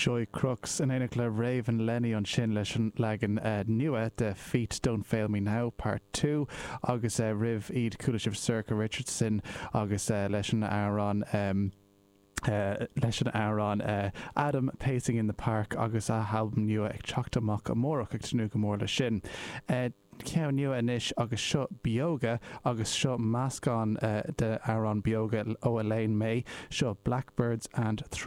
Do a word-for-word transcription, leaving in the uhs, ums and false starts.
Joy Crookes in éineacht le Raven Lenny ansin leis an leagan uh, nua de Feet Don't Fail Me Now Part two agus uh, roimh iad chuala sibh Sorcha Richardson agus uh, leis an amhrán um, Uh, leis an amhrán uh, Adam Pacing in the Park agus a halbum nua ag teacht amach amárach, ag tnúth go mór le sin. Uh, Ceann nua anois agus seo Beoga agus seo meascán uh, de amhrán Beoga ó Elaine May, seo Blackbirds and